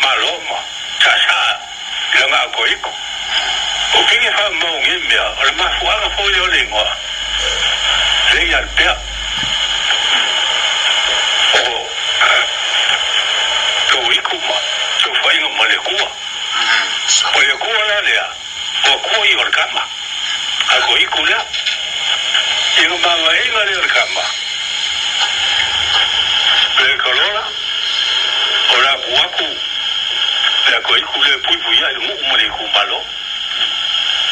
malo ma saasaa i laga akoiku. O fige faamaogia i mea, o le mafuaaga foi lea o le igoa Leialupea. O Toiku ma saofaiga ma le Akua. O le Akua la lea, o Akua ia o le kama, a Koiku lea. I le mavaega lea o le kama, le kalola, o le akuaku, le Koiku lea e puipuia i le nuu ma le itumalo.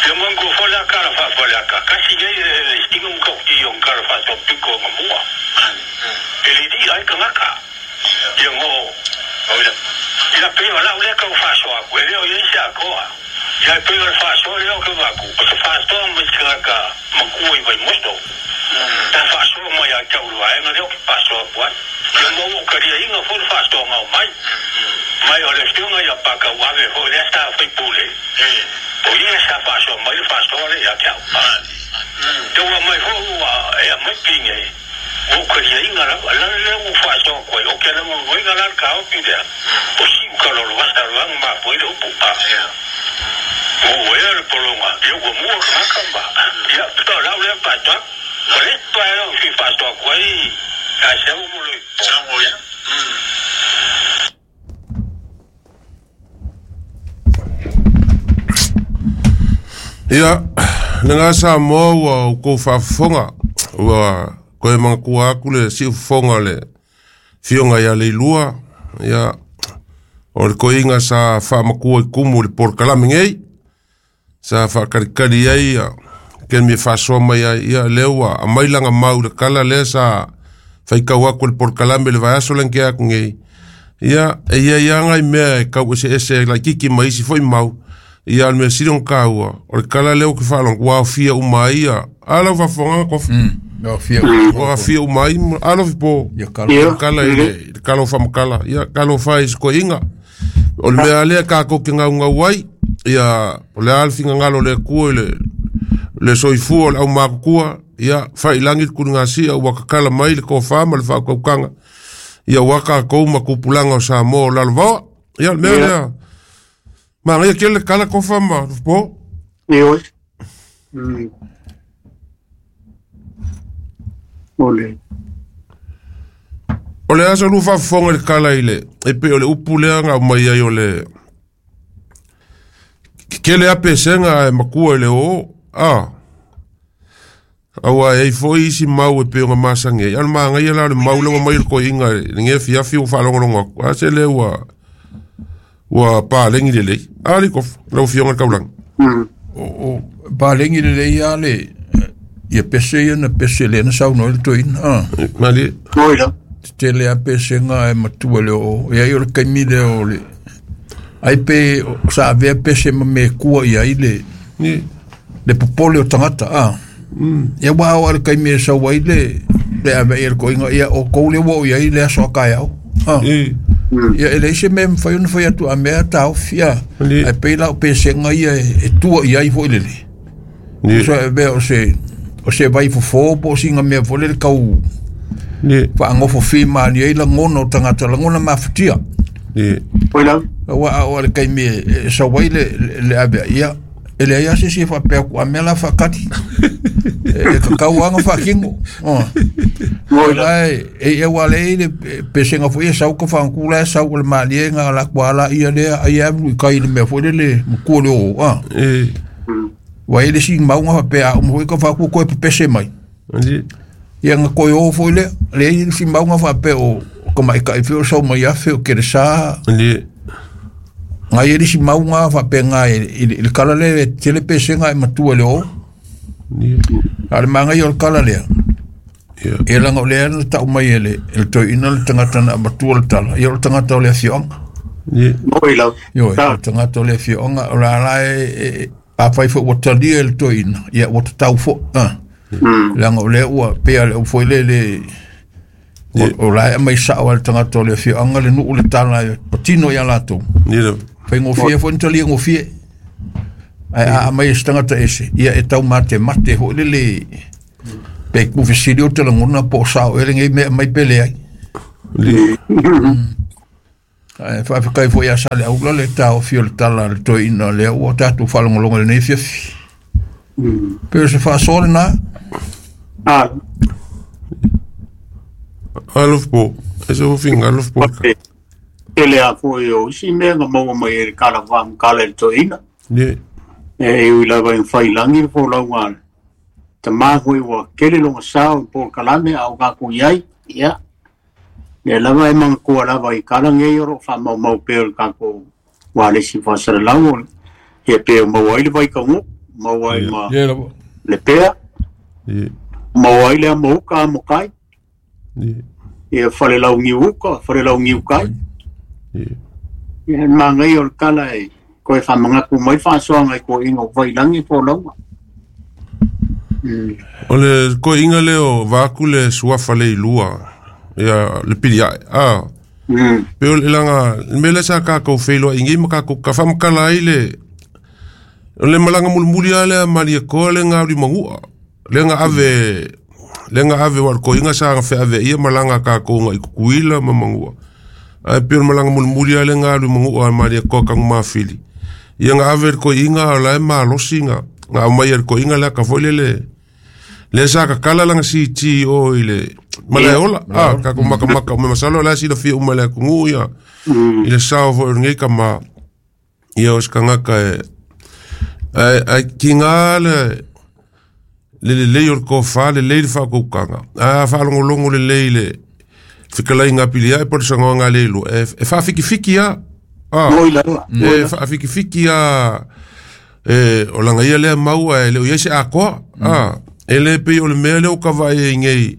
Ia manatua foi la tala faa-Faleata, tasi nei le sina matautia o ni tala faasoapito anamua. E lili'a ai tagata. Ia no ia pei o lau lea tau faasoa atu, e le o i ai se atoa. Ia e pei o le faasoa lea ou te avatu, o se faasoa mai se tagata matua i Vaimoso. Sa faasoa mai ia te au i le vaega lea ou te faasoa atu ai. Ia ma ua ou taliaina foi le faasoaga o mai. Mai o le afioga ia Patauave foi lea sa faipule, o ia sa faasoa mai le faasoa lea ia te au. Ia ua aumai foi ua e aumai pine, ua ou taliaina lava. O le ala lea ua ou faasoa atu ai, ou te lagolagoina la le taofi lea, o siuta lologata loa na mafua ai le upu a. Ua uaea le pologa, ia ua mua tagata ma, ia, o lau lea faasoa. O le isi vaega ou te fia faasoa atu ai ia Samu mo le Ia, lena Samoa ua outou faafofoga, ua toe manatua atu le siufofoga o le Afioga ia Leilua, ia, o le toeaina sa faamatua i tumu i le polokalame nei, sa faatalitali ai ia taimi e faasoa mai ai, ia lea ua aumai lana mau i le tala lea sa faitau atu e le polokalame i le vaiaso lea na tea atu nei. Ia, e i ai lava nai mea e tau eseese laitiiti ma isi foi mau, ia a o le mea sili ona taua, o le tala lea ou te faalogo, ua aofia uma ai ia, a lau faafofoga Tofa? Ua aofia uma ai, a Lofipo? Ia. Tala i le tala o faamatala, ia talofa e i si toeaina. O le mea lea tatou te gaugau ai, ia, o le a le finagalo o le Atua i le soifua o le aumatutua, ia, fai i lagi le tuligasia ua tatala mai le tofa ma le faautautaga, ia aua tatou ma tupulaga o Samoa o lalovaoa. Ia, o le mea lea, manaia tele le tala Tofa ma Lufipo. Ioe. O le O le a sa lua faafofoga i le tala i le, e pei o le upu lea na aumai ai o le tele lava pesega ae matua i le oo, a. Aua e i ai foi isi mau e pei ona masani ai, a o le manaia la o le mau lea ua aumai e le toeaina i lenei afiafi ua faalogologo atu, a se lea ua paleni lelei. A alii Tofa, lau Afioga i le Taulaga. O paleni lelei lava le ia pese ia na pese lea na saunoa ai le toeaina. Ah. Malie. Oi la. Tetele lava pesega ae matua i le oo. E ai o le taimi lea o le ai pe sa avea pese ma mea e kua i ai le le popole o tagata. Ah. Ia ua ao lava i le taimi e sau ai le le ave i le toeaina, ia o tou lea ua oo i ai le aso a taeao. Ah. Ia e leai se mea e mafai ona fai atu a mea taofi a. Ae pei la o pesega ia e tua i ai foi lele. So e mea o se vai fofo po o sina mea foi lele tau faagofofī malie ai lagona o tagata, lagona mafatia. Oi la. Aua a oo lava i le taimi e sau ai le ave ia, e leai lava se isi e faapea atu a mea la faatali. E tatau lava ona faatino. O la e aua lea e i ai le pesega foi e sau tofagatū la e sau o le malie na alu atu lava laia lea ai alu i tai i le mea foi lele matua o le oo. Ua i ai le isi mauga faapea a uma foi tofagatū toe pepese mai. Ia na toe o foi lea. Lea e i ai le isi mauga faapea o tamaitai foi o sau mai afe o keresa. Na i ai le isi mauga faapena i le tala lea e tele pesega ae matua i le oo. A o le manaia o le tala lea, ia leaga o lea na tau mai e le toeaina le tagata na avatua le tala, ia o le tagata o le afioaga. Oi lau. Ioe, o le tagata o le afioaga, o la la e, afai foi ua talia e le toeaina, ia ua tatau foi. Leaga o lea ua, pei lava o le au foi lele, o la e aumai sao lava e le tagata o le afioaga le nuu le tala e patino ia latou. Faigofie foi ona talia gofie. Ae a aumai e se tagata ese, ia e tau matemate foi lele, pe tuufesili ou te lagona po o sao ea lenei mea e aumai pe leai. Ae faafetai foi ia Saleaula le taofi o le tala a le toeaina lea ua tatou faalogologo i lenei afiafi. Pe o se faasoa lena. Alofa e se fofiga alofa Tele a foi o isi mea na maua mai e le kala whaamkala le toeaina. Ie. E ui lava i whailangi le folauga a le tamā foi ua kele loga sao i polokalame a o kākou iai. Ia. Lea lava e magatua lava i kala nei o loo faamaumau pea o le kākou ualesi faasalalau o ia pe o maua ai le vaikagu'u, maua ai ma Ie lava. le pea, Ie. maua ai le amouka amokai, Ie. ia falelaugiuuka, falelaugiukai. Ie. Ia le magaia o le kala e koe faamagaku mai faasoaga i koiga o vailagi folauga. O le koiga lea o vaku le suafa le ilua ia le piliae a pe o le laga le mea lea sa kakou feiloaiga ma kakou ka faamakala ai le o le malaga mulimuli a lea Malietoa le gauli magu'a lea ga ave lea ga ave ua le koiga sa gafeaveaia malaga a kakou agai Kukuila ma Magu'a ae pei o le malaga mulimuli a lea galu magu'a a Malietoa Tagumafili ia ga ave le koiga o la e malosi ga ga aumaia le koiga lea ka foi lele lea sa kakala laga siti o i le malaeola a kakou makamaka o me masalo o la silafia uma i le atunuu ia i le sao foi o lenei kamā ia o se tagata e ae ae kigā le le lelei o le tofa lelei le faautautaga ae a faalogologo lelei i le fetalaiga a Piliae po o le saunoaga a le iloa e faafikifiki a a Moi lava. e faafikifiki a e o laga ia lea mau ae le o iai se atoa a e le pei o le mea lea o kavaai ai nei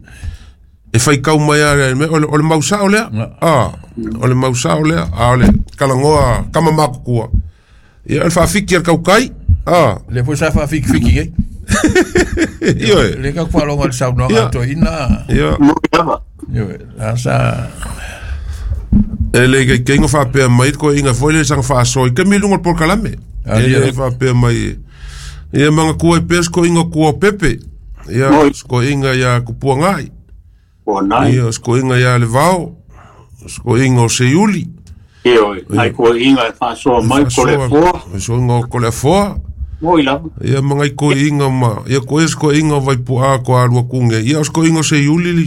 e faitau mai a le mea o le mau sao lea a o le mau sao lea a o le talanoa tama matutua ia o le faafiki a le tautai a Lea foi sa faafikifiki ai. ioe Le ka faalogo i le saunoaga a Ia. toeaina. ia Moi lava. Ioe, la sa e le kaikaiga faapea mai le koiga foi le saga faasoa i taimi i luga o le polokalame Ah, e ia. le faapea mai ia magatua ai pea se koiga tua o pepe ia Moi. se koiga iā Kupuagai Ua nai. ia o se koiga iā Levao o se koiga o Seiuli Ioe, ai koiga e faasoa mai ko le foa. se koiga o Koleafoa Moi lava. ia ma ngai koiga ma ia koe se koiga o Vaipu'a ko alua kuge ia o se koiga o Seiuli li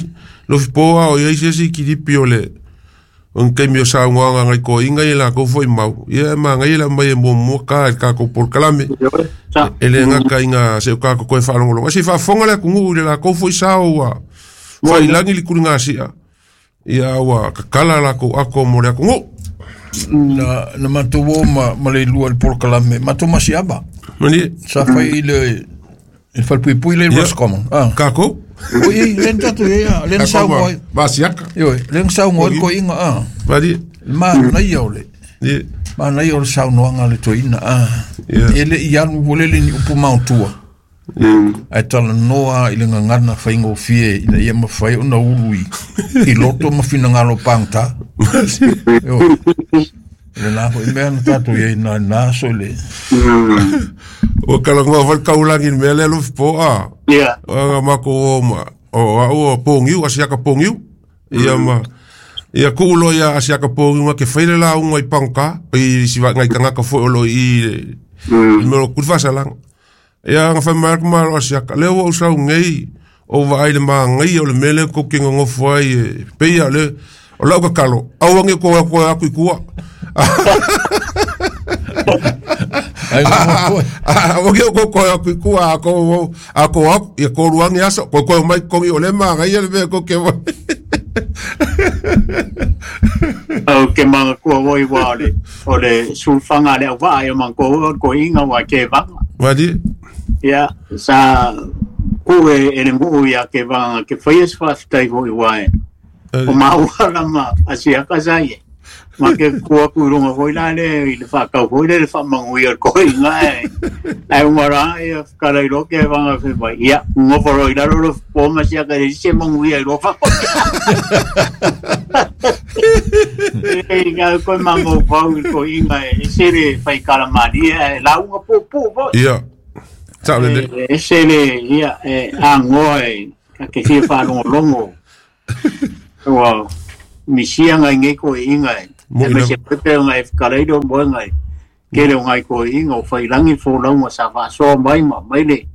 lofipoa o iai se isi kilipi o le o ni taimi o saunoaga ngai koiga ia lakou foi mau ia e magaia le aumai e muamua ka i le kakou polokalame Ioe, sa. e le gata iga se'o kakou koe faalogologo ae se i faafofoga le atunuu i le lakou foi sao ua failagi le kuligasi'a ia ua kakala lakou ako mo le atunuu na matou o ma le ilua i le polokalame matou masiava. mani Sa fai i le i le falepuipui le Ia. Roscommon. Ah. kakou Oi, le na tatou ia, le na kakou saunoa ai. masiaka Ioe, le na saunoa ai le koiga ah. mani Le manaia o le ie manaia o le saunoaga a le toeaina ah. Ia. E le i alu foi lele ni upu maotua. Ae talanoa i le gagana faigofie ina ia mafai ona ulu i loto ma finagalo pagota. Ioe. Lena foi mea na tatou iai na na aso i le ua kalagoa foi le kaulagi i le mea lea lofipo a Ia. aga makou o ma o a'u o pogiu asiaka pogiu ia ma ia ku'u loa ia asiaka pogiu ga ke fai le lauga i pagotā i sivaʻiga i tagata foi o lo i le i mea o kuli faasalaga ia aga fai mai atu malo asiaka lea ua ou saugei ou vaai le magaia o le mea lea kou ke gagofo ai e peia le o la'u kakalo auage ko ko aku i kua ai ngofo auage o ko ko aku i kua a ko a ko aku ia koluage aso ko ko mai kogi o le magaia le mea kou ke Au ke magatua oi wa o le o le sulfaga le auvaa e magatua oi o le koiga ua kevaga. mali Ia, sa ku e e le nguu ia kevaga ke faia se faafetai foi ua e. O maua lama asiaka sa ia. Ma ke kua ku i luga foi la le i le faakau foi le le faamaguia o le koiga e. Ae ugara ia fekala i loa kevaga fai mai. Ia, gofo loa i lalo le po ma siaka le se maguia i loa fako. E ngā koe mafaufau i le koiga e ese le faikalamālia e lauga puupuu foi. ia sa'o lelei E ese le ia e agoa e ka ke fia faalogologo. Ua misia ngai nei koiga e. E me se pepe o ngai whakarei o moe ngai. Kere o ngai koe inga o whairangi fōlaunga sa whaasoa mai ma mai le.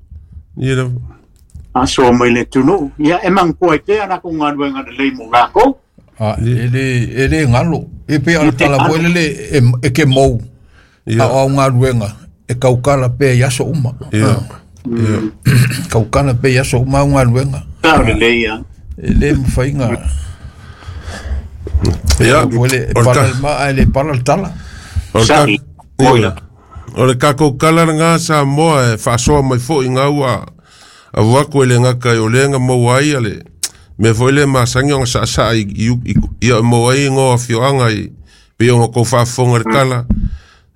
Ia asoa mai le tunu. Ia e mangkua i te ana ko ngā ruenga le lei mo ngākou. A, e le ngalo. E pe ala tala moe lele e ke mou. A o ngā ruenga. E kaukala pe i aso uma. Ia. Kaukala pe i aso uma au ngā ruenga. Tā o le lei ia. E le mwhainga. Ia. O le pala ma a le pala tala. O le kākou kala ngā sa moa e whaasoa mai fo i ngā ua a wako e le ngaka i o lenga maua ai ale me foi le masangi o sa sa i i maua ai ngō fioanga i pe o ngā whaafonga le kala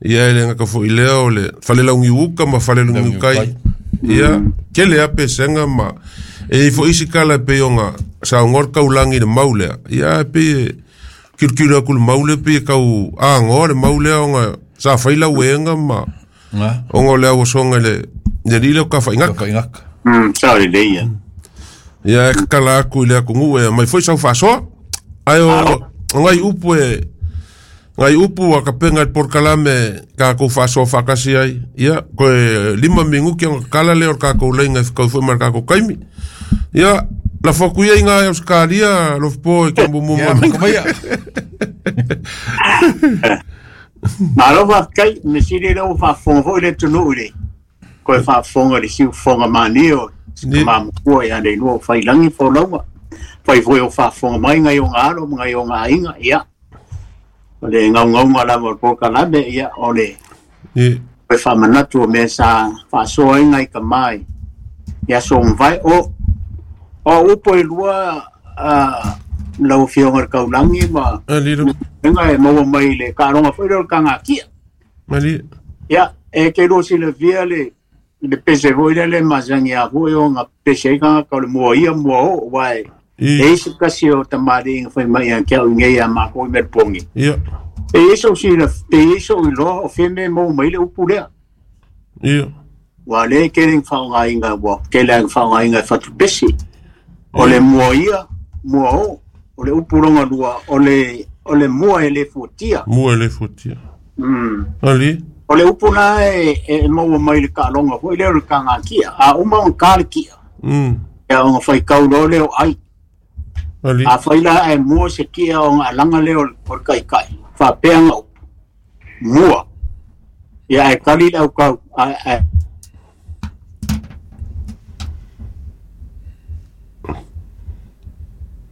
ia e le ngaka fo i lea o le whale uka ma whale laungi ukai ia ke le ape senga ma e i fo isi kala pe o ngā sa ngor kaulangi le maulea ia pe kirikiri aku le maule pe kau a ngō le maulea o ngā sa whaila uenga ma o ngō lea wasonga le le o ka whaingaka. Sa le leia. Ia e kakala aku i le aku ngu e mai foi sau whasoa. Ai o ngai upu e ngai upu a kapenga i porkalame ka kou whasoa whakasi ai. Ia koe 5 mingu ki ang kala le o ka kou leinga e kau fue mar ka kou kaimi. Ia la foku ia i ngā Australia lofpo e kia mumu Ia, makamaya. Malo whakai, me siri leo whafonga foi le tunu ure. Koe whafonga le siu whonga mani o mamukua ia le lua whailangi fōlaunga. Whai foi o whafonga mai ngai o ngā alo, ngai o ngā inga, ia. O le ngau ngaunga lava o pōkalame, ia, o le koe whamanatu o mea sa whaasoa inga i ka mai. Ia so mwai, o upo e lua lau fionga le kaulangi ma inga e maua mai le karonga foi le ka ngā kia. Ia, e ke ro si le via le pese foi le masangi a foi o ngā pese i ka le mua ia mua o wai. E isi kasi o tamari inga whai mai a kia ungei a mako i merpongi. Ia. E iso si le te iso i loa o whime mou mai le upu lea. Ia. Wa le kere whaonga inga wa kele ang whaonga inga whatu pese. O le mua ia, mua o, o le upuronga lua, o le mua e le fuatia. Mua e le fuatia. Ali. O le upu nā e maua mai le kaalonga foi leo le ka ngā kia. A uma o ka le kia. Ia o ngā whai kauro leo ai. Ali. A whai la e mua se kia o ngā langa leo o le kai kai. Whapea ngā upu. Mua. Ia e kali lau kau.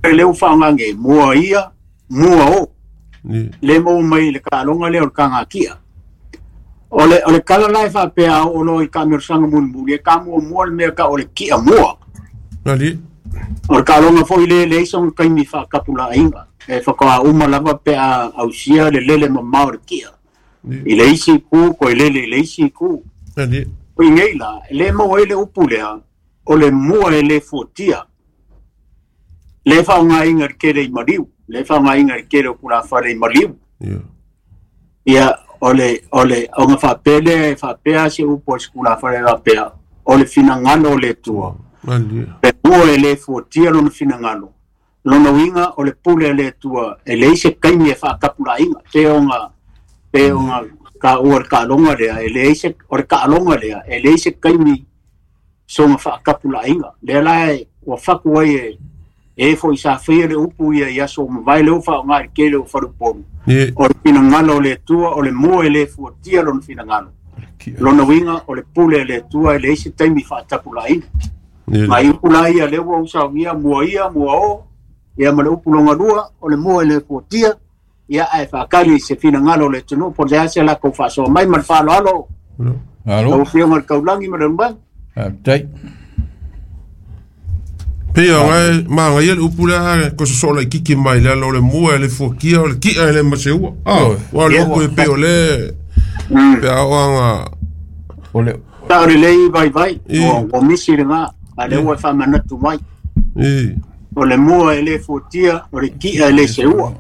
E leo whangange, mua ia, mua o. Le mau mai le kaalonga leo le ka ngā kia. O le kala lai whapea o lo i ka mersanga munmuli, e ka mua mua le mea ka o le kia mua. Ali. O le kaalonga foi le le iso nga kaimi whakapula inga. E whakawa uma lava pea ausia le lele mamao le kia. I le isi ku, ko i lele i le isi ku. Ali. O i ngei la, le mau e le upu lea, o le mua e le fuatia. Le whaonga inga le kere i mariu. Le whaonga inga le kere o kura whare i mariu. Ia, o le, o ngā whapele, whapea se upo e kura whare whapea. O le whinangano o le tua. Pe mua e le fuatia lona whinangano. Lona winga o le pule e le tua. E le ise kaimi e whakapula inga. Te o ngā ka ua le kaalonga lea. E le ise, o le kaalonga lea. E le ise kaimi so ngā whakapula inga. Lea lae, ua whaku ai e e foi sa whia le upu ia ia so mawai le uwha o ngā kele o wharuponu. O le whinangano o le tua, o le mua e le fuatia lona whinangano. Lona winga o le pule e le tua e le isi taimi whaatapula ina. Mai upu la ia le ua usa ia mua ia, mua o, ia ma le upu longa lua, o le mua e le fuatia, ia ae whaakari se whinangano o le tunu, po te ase la kou whaasoa mai ma le whalo alo. Alo. Lau whionga le kaulangi ma le rumbai. Tai. Pea ngai ma ngai le upu la ko so la kiki mai la lo le mua le fuakia o le kia le maseua. Ah, wa lo ko pe o le pe o anga o le ta le lei vai vai o misi le nga a le ua fa manatu mai. O le mua e le fuatia o le kia le seua.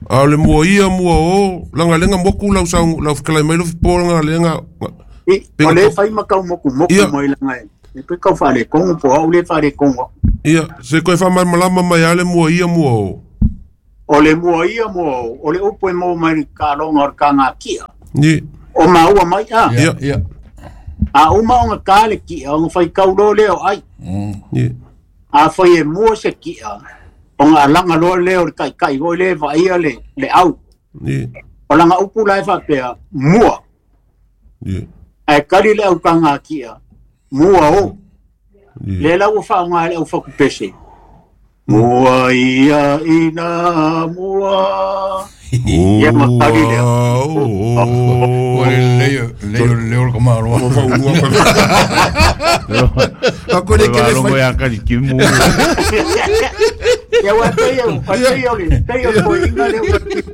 A le mua ia mua o langa lenga moku lau sa lau kala mai lo po langa lenga o le fai makau moku moku mai langa e pe kau whare kongo po au le whare kongo. Ia, se koe wha malama mai ale mua ia mua o. O le mua ia mua o le upu e maua mai le kaloga o le kagakia. Ni. O maua mai a. Ia, ia. A uma ona ka le kia, ona faitau loa lea o ai. Ni. A fai e mua se kia, ona alaga loa lea o le taitai foi lea e vaaia le au. Ni. O laga upu la e faapea, mua. Ni. Ae kali le aukagakia, mua o. Ni. Lea la ua faaaoga e le aufatupese. Mua ia ina mua. Ia ma kali lea. O le leo, leo, leo le kamaloa. Ako le kele Longo fai. ya kali kimu. Ia ua pei o pei o le pei o foi inga le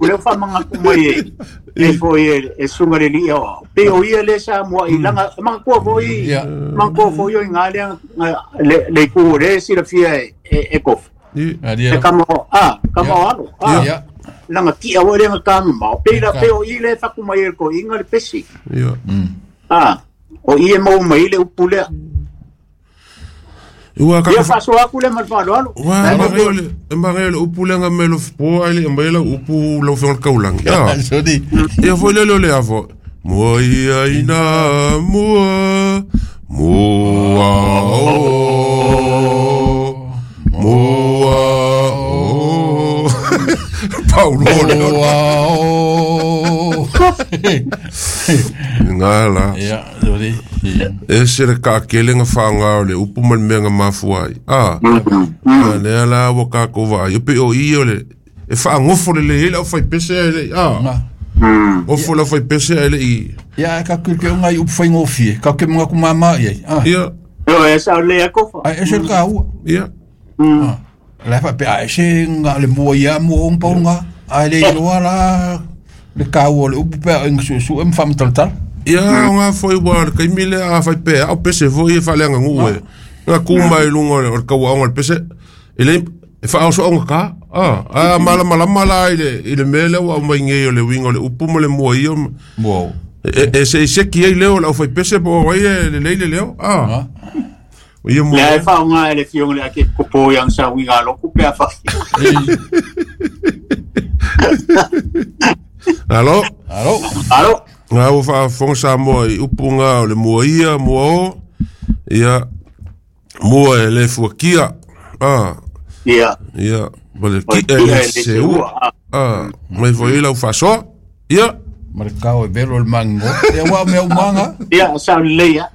o le fa manga ku mai e e foi e sunga le lia o pei o ia le sa mua i langa manga kua foi Ia. manga kua foi o inga le le ku le si la fia e kof Ni. Adia. e kama a kama o alo a Ia. langa tia o le kama ma pei la pei o i le fa ku mai e ko inga le pesi Ia. a o i e mau mai le upu lea Ua ka ia faso aku le malfalo alo Wa ma le ma le upu le nga melo po ai le ma le upu lo fe kaulang. Ya. Sodi. Ia foi le le avo. Mua ia ina mua mua o mua o Paulo le Wow. ngala. Ia, sodi. Ia. E se le ka kele nga whaanga o le upu ma le mea nga mafua ai. Ah. A lea la wa ka ko va. Yo pe o i o le e whaangofo le le hele au whai pese ai le. Ah. Nga. Ofo la whai pese ai le i. Ia, ka kul ke ngai upu whaingofie. Ka ke mga kumama ia. Ah. Ia. o e sa le akofa Ai, ese le ka ua. Ia. Ah. La fa pe ai se nga le mua ia mua ong pau nga. Ai le iloa la le ka ua le upu pe ai su su em fam tal tal. Ia o ngā foi wa le kaimi le a whai pe au pese foi e whale nga ngu e. Nga kuma i lunga o le kaua o le pese. E le e wha au nga ka. Ah, a mala mala mala i le mele wa mai ngei o le winga o le upu mo le mua ia. Mua. E se se ki ai leo la whai pese po wai e le leile leo. Ah. Ah. O ia Le ai mua. faonga e le fionga le ake kopo yang sa winga loku pe afa. Alo. Alo. Alo. Ngā ua whaafonga Samoa i upu ngā o le mua ia, mua o. Ia, mua e le fuakia. Ah, Ia. ia, ma le O ki kia e le e le seua. seua. Ah, mai foi lau whasoa. Ia, Ma le kau e velo le mango. Ia wa mea umanga. Ia sa le ia.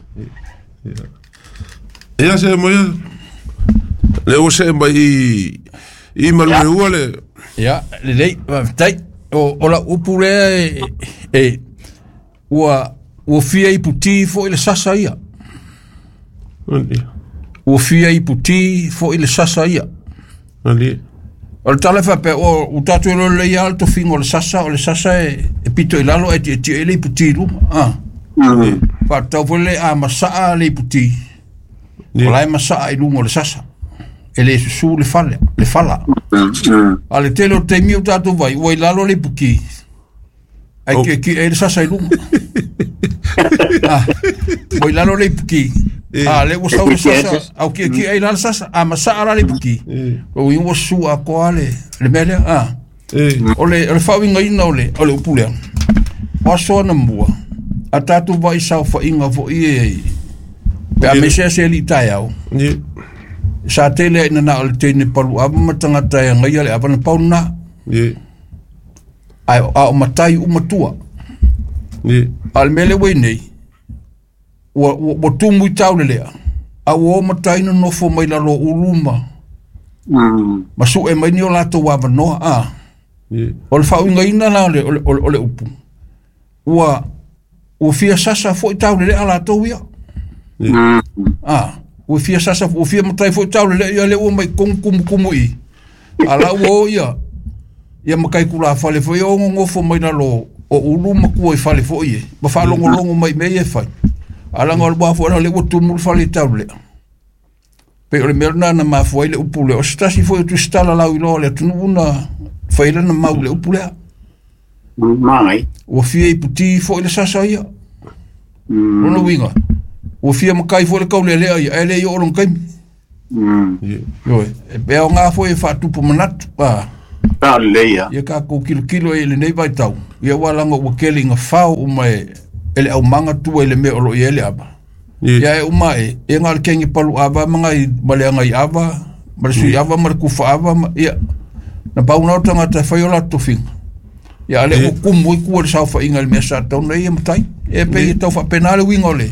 ia se mo ia. Le o se mai i malu e ua le. Ia, le lei, tai, o la upu lea e, ua, ua fia i puti fo i le sasa ia. Ali, Ua fia i puti fo i le sasa ia. ali. O le tala faapea, o u tātou e lole ia le tofiga o le sasa e pito i lalo e tietie ai le iputi i luma. Ah. Faatatau foi le a masaa le iputi. O la e masaa i luga o le sasa. E le susu le fale, le fala. A le tele o le taimi o tātou vai, ua i lalo le iputi. Ai Oh. ki e le sasa i luga. Ah, ua i lalo le iputi. A le ua sau le sasa, au ki ki ai la le sasa, a masaa la le iputi. O i ua susu a koa le mea lea. Ah. E, O le faauigaina o le upu lea. O aso ana mua, a tātou vai saofaiga foʻi e pe a mese ase ali taeao. ni, Sa tele ai na o le teine palu ava ma tagata e agaia le ava na pau lena. ni, Ae a o matai uma tua. ni. A le mea lea ua i nei, ua tumu i taule lea. A ua o matai nonofo mai lalo o ulu ma suʻe mai ni o latou avanoa a. Ni, O le faauigaina la o le upu. Ua fia sasa foʻi taule lea latou ia. Ah, ua fia sasa, ua fia matai foʻi taule lea ia le ua mai kogu kumukumu i. A la ua o ia, ia makai kula fale foʻi o gogofo mai lalo o ulu ma kua i fale foʻi e. Ma faalogologo mai mea ia e fai. A laga o le ua foʻi la le ua tumu le fale i taule lea. Pe o le mea lena na mafua ai le upu lea. O se tasi foʻi o tusitala lau iloa o le atunuu na fai lana mau le upu lea. Mai. Ua fia iputi foʻi le sasa ia. Lona uiga, ua fia makai foʻi le kaulelea ia, ae le i oo lona kaimi. ni. Ioe, e pea o ngā foʻi e faatupu manatu. Ah. Sa lelei a. Ia tatou kilokilo ai i lenei vaitau, ia ua laga ua tele ina fao uma e le aumaga tua i le mea o lo o i ai le ava. Ia e uma ae, ia na o le kegi palu ava ma nai ma le agai ava, ma le sui ava ma le kufa ava, ma, ia, na pau na o tagata e fai o latou tofiga. Ia a lea ua kumu ai tua i le saofaiga i le mea sa tatau ona ia matai. E pei e tau faapena le uiga o le,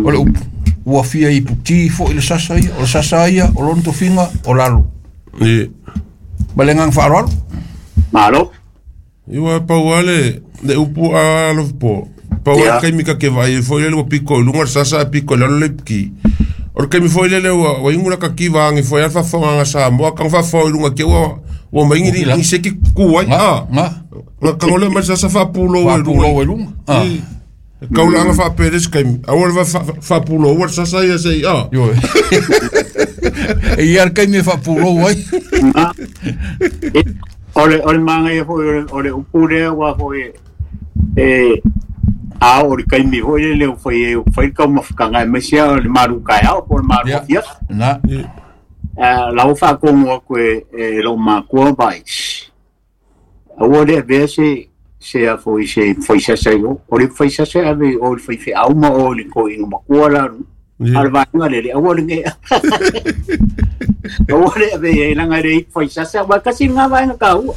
o le upu. Ua fia iputi foi le sasa ia, o le sasa ia, o lona tofiga, o lalo. Ma le agaga faaaloalo. Malo. Iwa pau lava le upu a alofa pau lava le taimi ta te vaai ai foi lele ua pito i luga le sasa ae pito i lalo le ipuki. O le taimi foi lele ua igu lata tiva ane foi a le faafofoga a Samoa tago faafofoga i luga te ua mai ni seki tu ai. Na tago lea mai le sasa faapulou ai luga. Ai luga. E kaulaaga faapea le isi taimi, aua le faapuloua le sasa ia se i a. E ia le taimi e faapulou ai. O le manaia foi o le upu lea ua foi e a o le taimi foi lele o fai ai o fai le taumafataga aemaise lava o le malu taeao po o le malu afiafi. Na. La ua faatonu atu e lou matua vai. Aua le avea se a foi se faisasa i o. O le faisasa e ave i o i le faifeau ma o i le toeaina matua la a le vaega lele aua le ne aua le ave i ai leaga e le i faisasa aua e tasi lena vaega taua.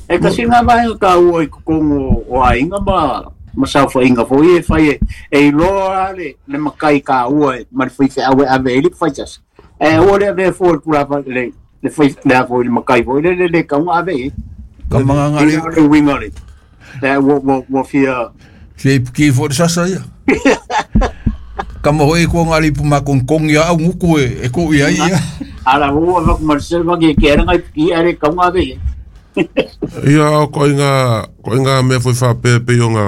E tasi lena vaega taua i totonu o aiga ma saofaiga foi e fai e iloa le matai taua ma le faifeau e ave ai le faisasa. Ae aua le avea fua i le tulaga le fai le a foi le matai foi lele le tatau ona ave i ai. Ka magaga le le uiga le le ua fia fia ipuki foi le sasa ia. Ka mo hoi ko ngā lipu makonkongi a au nguku e ko i ai ia. Ala ua vaku ma le selva ke ke ara ngai i are kau ngā ve. Ia ko inga mea foi whapea pe o ngā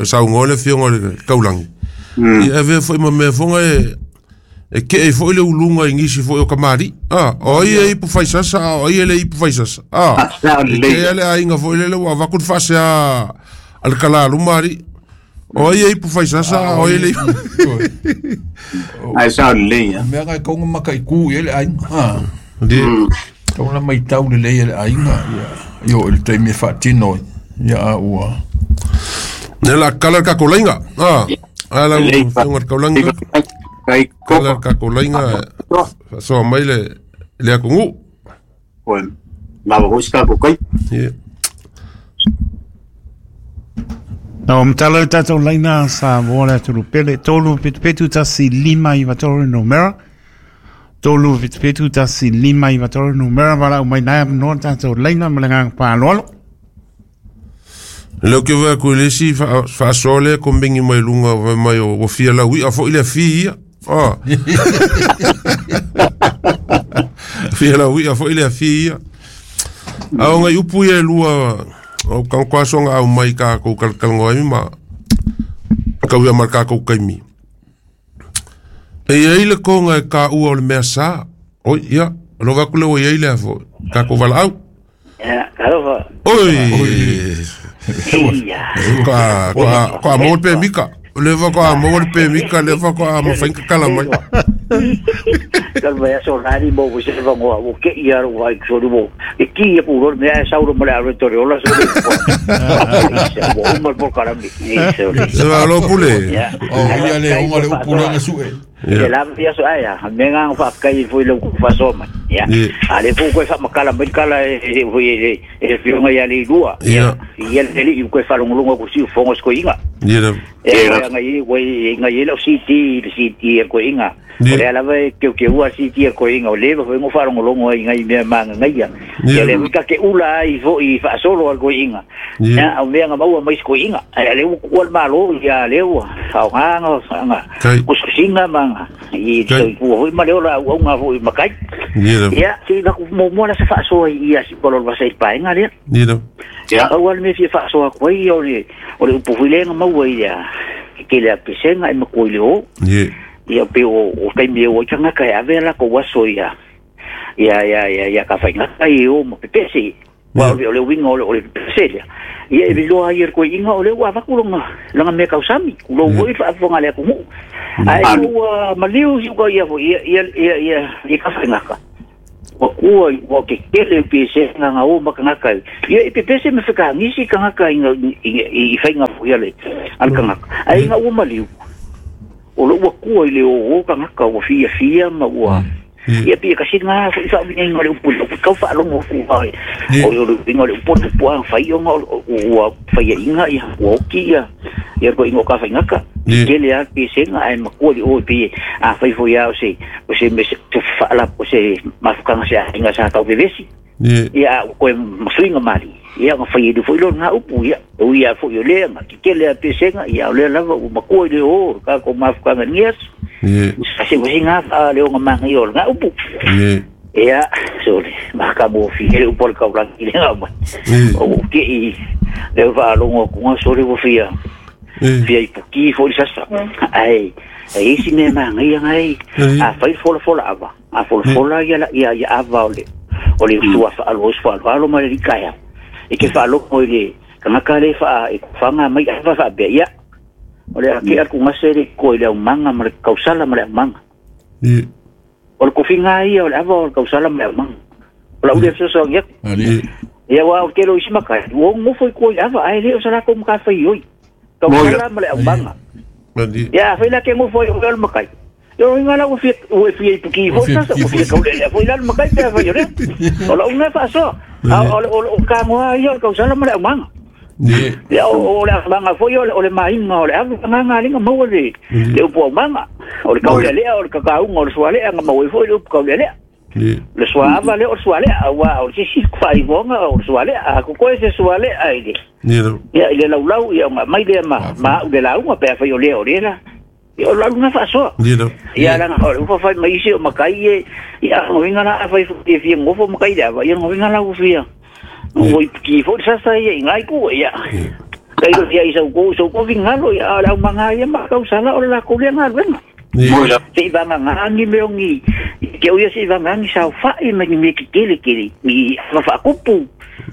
saungo le fionga le kaulangi. Ia e foi ma mea fonga e ke e foi le ulunga i ngisi foi o kamari. O ai e ipu faisasa, o ai e le ipu faisasa. E ke ale a inga foi lele ua vaku whase a le kala lumari. O ai e ipu faisasa, o ai e le ipu. Ai sao lelei ia. Mea ngai kaunga maka i ku i ele aiga. Kaunga mai tau lelei ele aiga. Io ele taimi e whaatino. Ia a ua. Ne la kala ka kolainga. Ala ua kaulanga. Kai kala ka kolainga. So mai le akungu. Oi. Lava hoska ko kai. Na o matala le tātou laina sa mō le aturu pele 3 7 1 5 9 3 numera 3 7 1 5 9 3 numera wala o mai nai no tātou laina ma le ngā pāloalo. Leo ke wea koe lesi whaasole ko mengi mai lunga wai mai o fia lau ia fo i le fi ia. Fia lau ia fo i le fi ia. A o ngai upu ia lua o kang kwasonga au mai ka kou kalkalngoa mi ma kau ia mar ka kou kaimi. E ia le konga e ka ua o le mea sa. Oi, ia, lo vaku le o ia ile afo. Ka kou wala au. Ia, alofa. Oi. Ko a mo pe mika. Leva ko a mo pe mika, leva ko a mo fainka kala mai. Kal vai so nari mo wo se va mo o ke ia ro vai so mo. E ki ia pu ro me a sauro mo le aro tore ola so. Mo mo por karami. Se va lo pule. O ia le o le upule na sue. E la via so aia, me nga fa kai foi le ku fa so ma. Ya. Ale fu ko fa makala mai kala e foi e fionga ia le lua. Ya. Ia le li ko fa longo ko si fongo sko inga. Ya. E ngai wei ngai le CT le CT ko inga. O le ala vai ke ua CT ko inga o le foi ngo fa longo longo ngai me manga ngai ya. Ya le ka ke ula i foi fa solo al ko inga. Ya o me nga maua mai ko inga. Ale u al malo ya le u ha nga nga. Kusinga manga. I te ua hoi ma le ola au ngā hoi makai. Ia, si naku mo la se whaasoa i ia si polo wasa i paenga lea. Ia. Au ale me fia whaasoa koe ia o le upuhuilenga maua ia ke lea pesenga e makoi le o. Ia pe o kaimi e o itangaka e ave la ko waso ia. Ia ia ia ia ka whaingaka i o ma pepese. Wa o le winga o le pepese lea. Ia e viloa ia koe inga o le ua vakulonga langa mea kausami. Kulo ua i whaafonga lea kumu. Ai ua maliu si uka ia ia ia ia ia ka whaingaka. Ua ua ke kele pe se nga o makangaka ia e pepese me whakangisi kangaka i whainga fo ia le al kangaka ai nga ua maliu o lo ua kua i le o kangaka ua fia fia ma ua ia pia kasi ngā fo i wha inga le upu le kau whaalongo fu ai o le inga le upu le pua whai o ua whaia inga ia ua oki ia ia ko ingo ka whaingaka kele a pe se nga ai makua li o pe a whai fo ia o se me se whaala o se mafukanga se inga sa kau vevesi ia o koe masuinga mali ia nga whai edu fo ilo ngā upu ia o ia fo i o lea nga kele a pe se nga ia o lea lava o makua i le o ka ko mafukanga ngias Kasi ko singa a leo nga mga iyo nga upo. Ia sorry maka mo fi ele upo ka ulang ile nga ba. O ke i leo va longo ku nga sorry wo fia. Fia ipuki fo sasa. Ai ai si me mga ia ngai a fai fola fola ava. A fola fola ia ia ia ava ole. Ole sua fa alo sua alo ma le kaya. E ke fa lo ko ile kana ka le fa e fanga mai ava fa be ia. O le ake aku ngasere ko ile manga ma le kausala ma le manga. O le kofinga ia o le ava o le kausala ma le manga. O la ule so ia. Ia wa o ke lo ismaka. O ngofo ko ile ava ai le o sala ko mka fai oi. Kausala ma le manga. Ia fai la ke ngofo o le makai. Yo inga la o fi o fi puki fo sa o fi ka le fo ila makai pe fai ore. O la una fa so. O ka mo ia o kausala ma le manga. Ia o le manga foi o le mainga o le ava nga linga maua le le upu manga o le kaulelea o le kakaunga o le sualea nga maua foi le upu kaulelea le suava le o sualea wa o se si fai vonga o sualea a ko se sualea ile ia ile laulau ia nga mai le ma ma le launga pe fai o le o le la ia o launga fa so ia la o ufa fai mai se o makai ia ngoinga la fai fi ngofo makai la ia ngoinga la ufia o ki fo sasa ia ngai ku ia kai lo ia isa ko so ko vingalo ia la manga ia ma kausala o la ko le nga venga se va nga ngi me ongi ke o ia se va nga ngi sa fa i me me kele kele mi fa fa kupu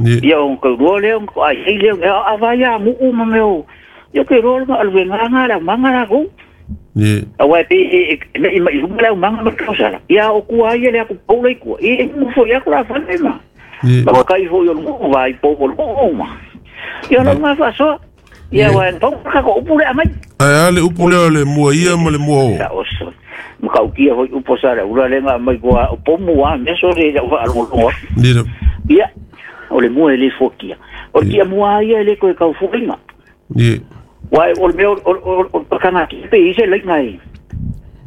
ia on ko ro le on ko ai le a va ia mu u ma me o yo ke ro nga al venga nga la manga la ko a wa pe me me la manga ma kausala ia o ku ai le ku po le ku e mu fo ia ko la fa le ma Maka iho yo mo vai po mo ma. Ia no ma fa so. Ia wa to ka ko upu le amai. Ai ale upu le le mua ia ma le mua o. Maka ukia hoi upo sa le ula le nga mai ko po mua me so le wa alo lo. Ia o le mua le fokia. O kia mua ia le ko e kau fuinga. Wa o le o kana ki pe ise le ngai.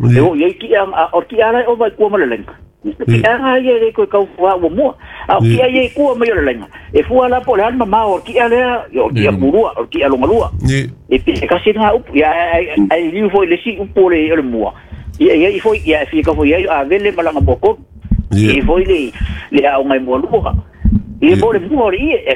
Le o ia ki a o ki ala o vai ko ma le lenga. Kia nga ia le koe kau fua ua mua. A o kia ia i kua mai o le lenga. E fua la po le alma ma o kia lea, o kia murua, o kia longalua. E pe kasi nga upu, ia ai liu foi le si upu le o le mua. Ia ia i foi, ia fia ka foi ia a vele malanga moko. I foi le au ngai mua lua. Ia mo le mua o le ia, e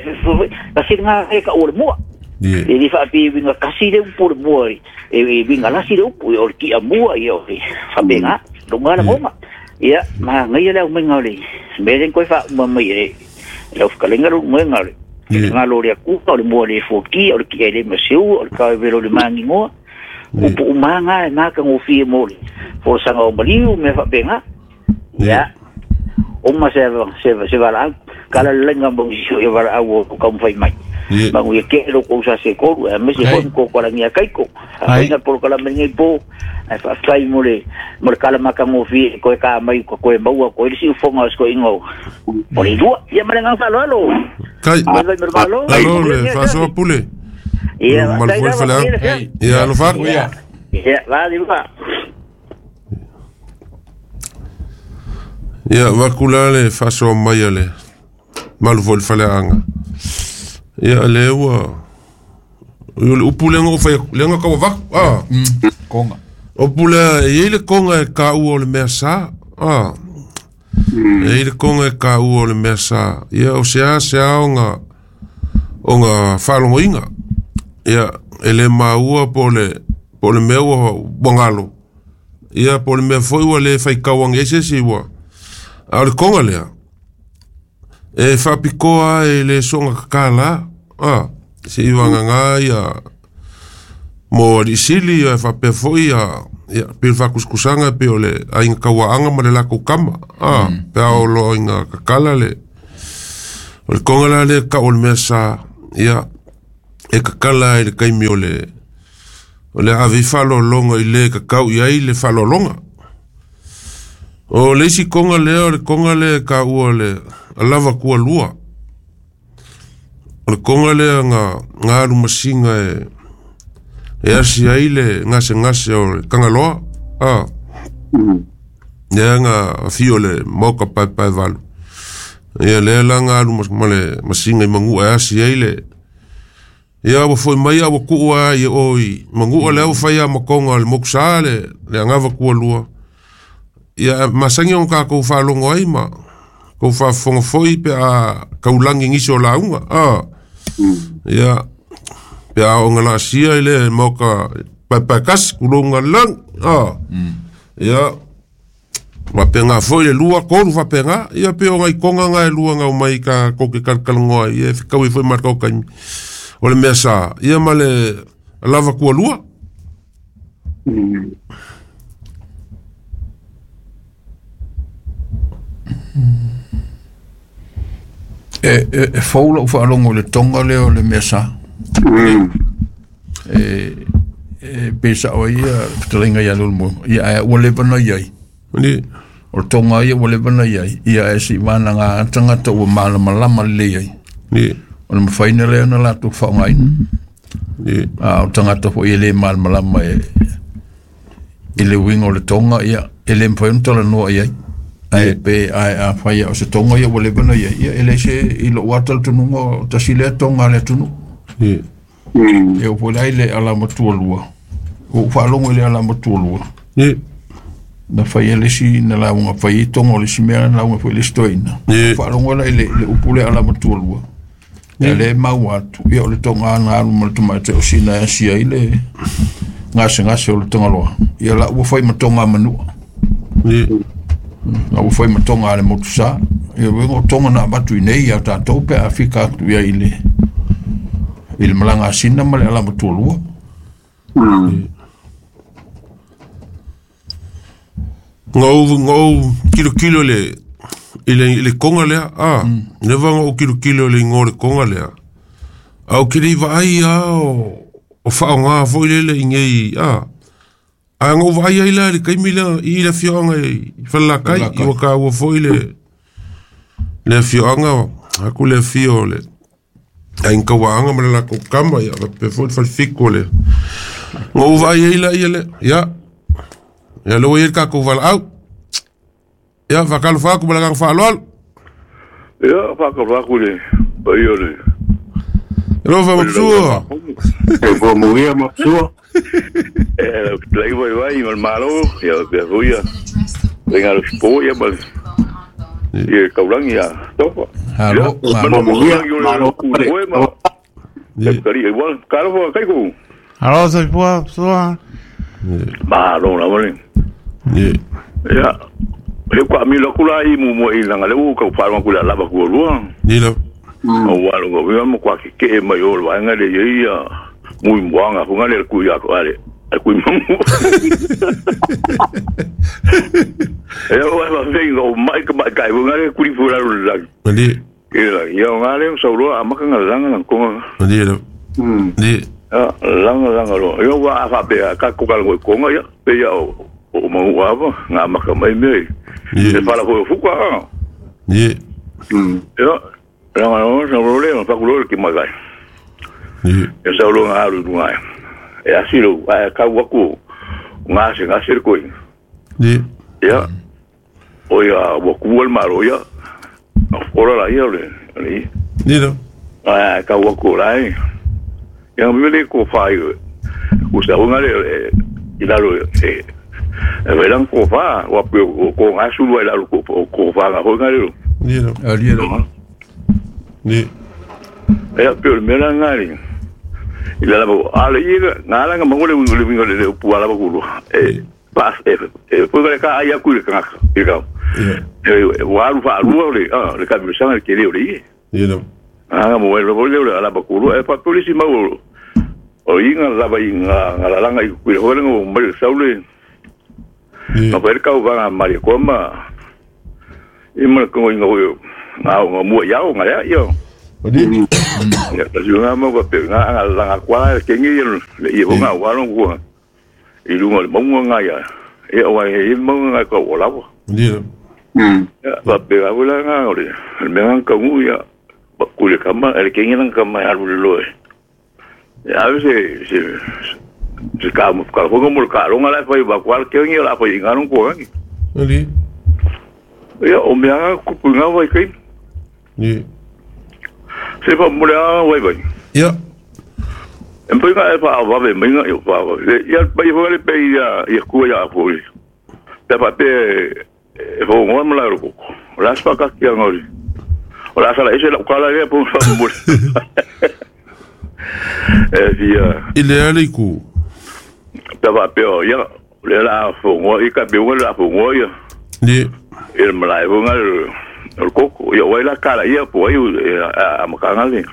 kasi nga e ka o le mua. E li whaapi winga kasi le upu le mua, e winga lasi le upu, o le kia mua, ia o le whapenga, longa la ngoma. Ia, ma ngai le au mai ngale. Me ren koe fa ma mai e le whakalenga ro mai ngale. Ngā lo le kuka o le mua le foki o le ki ele maseu o le ka velo le mangi ngoa. Upu umanga e maka ngofie mo le. Fo sanga o maliu me whapenga. Ia. Oma se se vala kala lenga mo sio e vala au o ka mwhai mai. Mangu ia ke lo ko sa se koru e me se hon ko ko la ngia kaiko. Ai na por kala mengi po ai fa fai mo le kala maka ngofi ko e ka mai ko ko e maua ko ile si ufonga sko ingo. O le lua ia mare nga fa lo. Kai. Alo le fa so pule. Ia mal fo fa. Ia lo fa. Ia va di va. Ia vakula le fa so mai le. Mal fo fa le anga. Ia le ua o upu le ngo fa le ngo ka va ah konga o pule e le konga e ka u o le mea sa ah e le konga e ka u o le mea sa ia o se a se a onga onga falongoinga ia ele maua po le mea ua wangalo ia po le mea foi ua le fai kauangi ese si ua a o le konga lea e whapikoa e le songa kakala ah se iwanga ngā ia mo alisili ia whapea foi ia Ia pe faakusikusaga pe o le aiga kauaaga ma le lakou kama a pe a o loo iga kakala le o le koga la lea ka'u o le mea sa ia e kakala ai le kaimi o le ave ai fa'aloaloga i lē kakau i ai le fa'aloaloga o le isi koga lea o le koga lea e kāua le alava kualua o le koga lea ga alu masiga e asi ai le gasegase o le kagaloa a lea ga afio le maoka paepae valu ia lea la ga alu ma le masiga i magu'a e asi ai le ia ua fo'i mai a ua ku'u a ia oi magu'a lea ua faia makoga o le mokusā le agava kualua ia masagi ona kākou faalogo ai ma kou faafofoga foi pe a kaulagi nisi o lauga a ia pe a o laasia i le maoka paepae kasi kulouga lagi a ia faapega foi le lua tolu faapega ia pe o gaikoga ga e lua gau mai ka kou ke kalakalagoa ia e fekaui foi ma le kaukaimi o le mea sa ia ma le lava kualua. E fou la'u fa'alogo i le toga lea o le mea sa e pe sa'o ai ia fetalaiga ia le ia ae ua leva na iai o le toga ia ua leva na iai ia ae si'ivanaga tagata ua malamalama lelei ai o le mafaina lea na latou fa'aogaina a o tagata fo'i e lē malamalama e i le uiga o le toga ia e lē mafai ona talanoa i ai ae pe ae afai o se toga ia ua leva na iai ia e le se i lo'u ata le tunuga o tasi lea toga a le atunuu e oo foi la i le alama tualua ua ou faalogo i le alama tualua na faia le isi na lauga fai ai toga o le isi mea na lauga foi le isi toeaina faalogo la i le upu le alama tualua ia le mau atu ia o le toga na alu ma le tamaitai o sina e asia ai le gasegase o le tagaloa ia la ua fai ma toga manua la ua fai ma toga a le motusā ia uiga o toga na avatu i nei ia tatou pe a fika atu ia i le malaga asina ma le alama tualua. Ngau kilokilo le i le koga lea a leva ngau kilokilo le igoa o le koga lea a o ke lei vaai a o fa'aogā foi lele i nei a ae ga'u vaai ai la i le kaimi lea i le afioaga i falelakai i ua kāua foi le afioaga aku le afio o le aiga kauaaga ma le lakou kama ia faapea foi le falefiku o le ga'u vaai ai la ia le ia ia le ua iai le kakou valaau ia faakalofa atu ma le agaga fa'aloalo ia faakalofa atu le paia o le alofa mapsua e fuamuia mapsua e lai vai vai ma le malo ia pea foi ia lenga lo sipo ia ma ia kaulagi ia tofa alo fuamuia malo kari igual kalofa kaiku alo soifua mapsua malo la male ia he kwa mi lo kula i mu mo i langa le u ka pa ku la lava ku lua ni la o wa lo go mo kwa ke ke mai o wa nga le ia mu mwanga fu nga le ku ya ko ale ku mu e o wa ve go mai ka mai kai nga le ku fu la la ni e la ia nga le so lo amaka nga langa la ko ni la ni langa langa lo yo wa fa be ka ko ka ko nga ya pe ya o mau ava nga maka mai me e fala foi fuka ni yo langa no sa problema fa kulo ki magai ni e sa lo nga alu ngai e asilo a ka waku nga se nga se ko ni ya o ya waku al maro ya ora la ia le ni ni no a ka waku la ya me le ko fa o sa nga le ilalo e velan ko fa wa ko nga su wa ilalo ko fa nga ho nga le ni no ali lo ni e pe me la nga ni ilalo ale ia nga la nga mo le le pu ala ko e pa e pu le ka ia ku le ka i ka e wa lu fa lu le le ka mi sa ke le le ni no ah mo le le ala ba ku e pa polisi mau o inga la ba inga nga la nga ku le ho nga mo le sa le Na pa kau vanga mari ko ma i ma ko inga ho nga nga mua yao nga ya yo. Ya ta ju nga mo pe nga nga nga kwa ke ngi le i nga wa lo ko. I lu nga mo nga ya. E o ai mo nga ko o la. Ni. Ya pa pe ga wala nga ore. Me nga ka ngu ya ku le kama ele ke ngi kama ya lu lo. Ya a veces se ka mo ka ko mo ka lo nga la fa ba kwa ke ngi la fa inga no ko ngi. Ni. Ya o me nga ku nga vai kai. Ni. Se fa mo la vai vai. Ya. Em pe nga fa va ve me nga yo fa. Ya pa yo le pe ya ya ku ya ku. Ta pa pe fo ngo mo la ro ko. La spa ka ki ngori. O la sala ese la ka la le po fa mo. E via. Il est allé ku. Ta va pe ya le la fo ngo i ka pe la fo ngo ya. Ni. Il me la ngo el coco yo voy la cara ya po ahí a makanga le.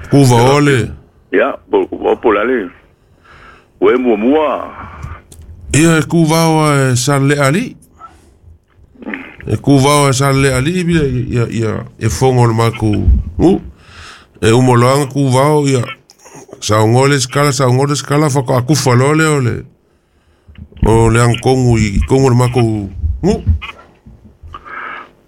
Ku va ole. Ya por la le. We mo mua. Ia ku va sa le ali. E ku va sa le ali ia ia e fongo le maku. U. E o moloanga ku va ia sa ngole skala fa ka ku fa lole ole. O le ankongu i kongu le maku. U.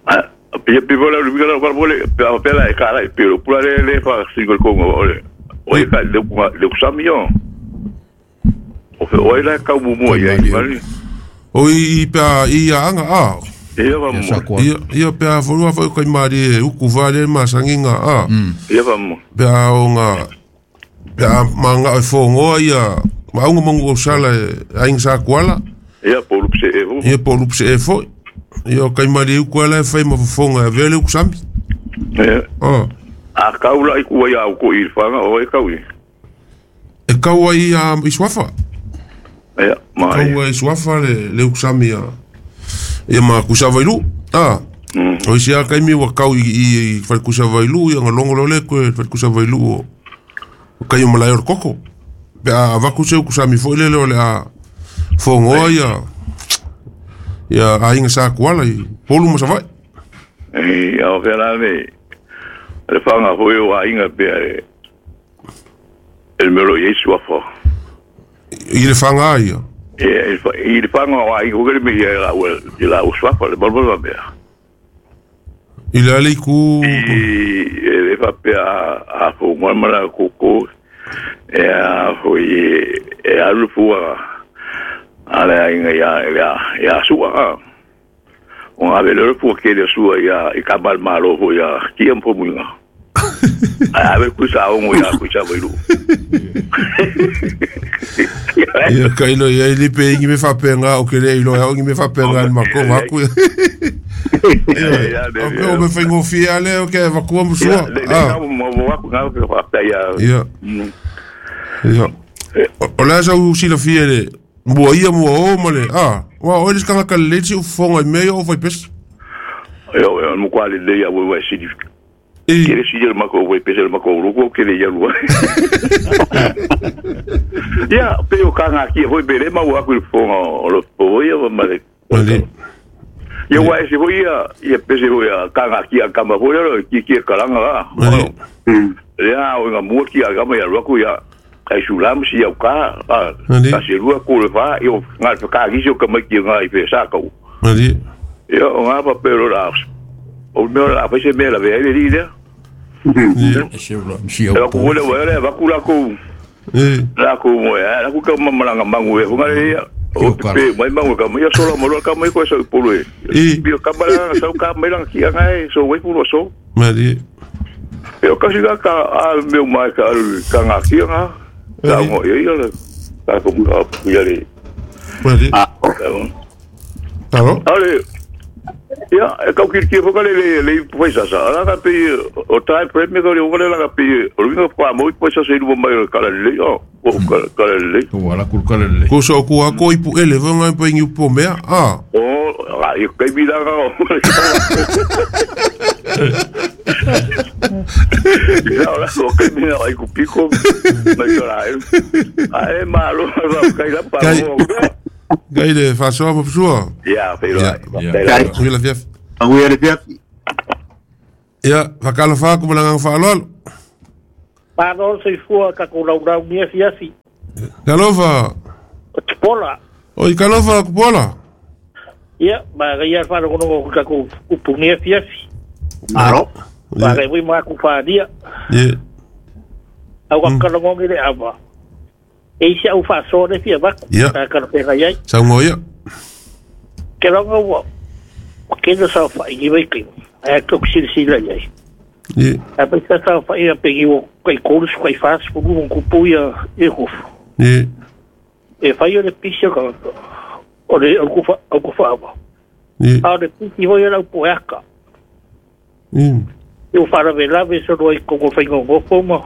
Ah, pe pe vola le la parole pe la cara pero pura le fa single kongo ole. Oi ka le le samio. O fe oi la ka mu ia i. Oi pa ia anga a. Ia va mo. Ia pe a folua fa kai mari uku vale masanginga a. Ia va mo. Pe a onga pe a manga e fongo ia maunga mongo sala ainga sa kuala. Ia po lupse e fo. Ia po lupse e fo. Ia kai mari uku ala e fai ma fonga vele uku sambi. Ia. Ah. A kaula i ku ia ko i fanga o e kau. E kau ai a iswafa. Ia mai. Kau ai iswafa le uku sambi ia. Ia ma kusavailu. Ah. O isi a kai mi wa kau i fal kusavailu ia ngalongo lole ko fal kusavailu o kai o malai o koko. Pe a vaku se kusami fo le le a fongo ia. Ia ainga sa kuala i polu ma savai. E a vera me. Le fanga foi o ainga pe el melo Yesu afa. I le fanga ia. E i le fanga o ainga o me ia la la uswafa le balbala be. I le ale ku i le fa pe a fo mala koko e a foi e a lufua ala inga ya ya ya sua. O a ver por que le sua ya e cabal malo ho ya tiempo muy a ver kusa o ya kusa voilu. Ia kailo ia ili pe ingi me fa penga o ke le ilo ia ingi me fa penga ma ko va ku. O me fa ngofia le o ke va ku mo sua. Ah. Mo va ku nga ke fa pe ya. Ia. Ia. O la sa u sila fiele. Mua ia mua o male. Ah, wa o eles kanga kaleci o fonga me o foi pes. Yo mo kwali le ya we we si. Kere si el mako we pes el mako ruko kere ya lua. Ya, pero kanga ki hoi bele ma wa ku fonga o lo po ya male. Ya wa si hoi ya ya pes hoi ya kanga ki kama hoi lo ki ki kalanga la. Ya o nga mo ki aga ma ya ruko ya. Ai sulam si au ka ka si rua ko le fa yo nga ka gi so ka mai ki nga i fe sa ko. Ali. Yo nga pa pero la o me la fa se me la ve le di. Si au. Ko le wa le va ku la ko. La ko mo ya la ku ka ma la mangu e nga le ya. O pe mai mangu ka mai so la mo ka mai ko so polo e. Bio ka ma la so ka mai la ki nga e so we pu so. Ali. Yo ka si ka a meu mai ka ka nga ki nga. Tá bom, eu ia tá como ia ali. Tá bom? Olha, ya, é que que vou le le pois asa. Ala ka pe o tai premi ko le vou la pe o vinga pa mo pois asa ilu mai kala le o kala le. O ala ku kala le. Ko so ku a ko ipu ele vou ngai pe ngi po mea. Ah. O a i kai bi la ka. Ya ahora so que me ai ku piko mai kala. Ai malo va kai la pa. Kai le faasoa ma pasua. Ia, feiloai. Kai. Manuia le afiafi. Manuia le afiafi. Ia, faatalofa atu ma le agaga faaaloalo. Malo le soifua tatou laulau ni afiafi. Talofa. O Tupola. Oi, talofa Tupola. Ia, manaia le faalogologo o tatou upu ni afiafi. Malo. Manaia foi ma aku faaalia. Ia. Au kakalagogi le ava. E isi au faasoa le fia avatu. Ia. Takalafeagai ai. Saunoa ia. Ke laga ua kena saofai vai kai. Ae tou silasila i ai. Ia. Ae pai sa saofai a pegi ua kai kolu su kai fas fulu mo kupu ia e hofu. Ia. E fai o le pisi o ka o le o kufa o kufa ava. Ia. A o le pisi hoi o lau poeaka. Ia. E o wharawe so roi kongo whainga ngofo ma.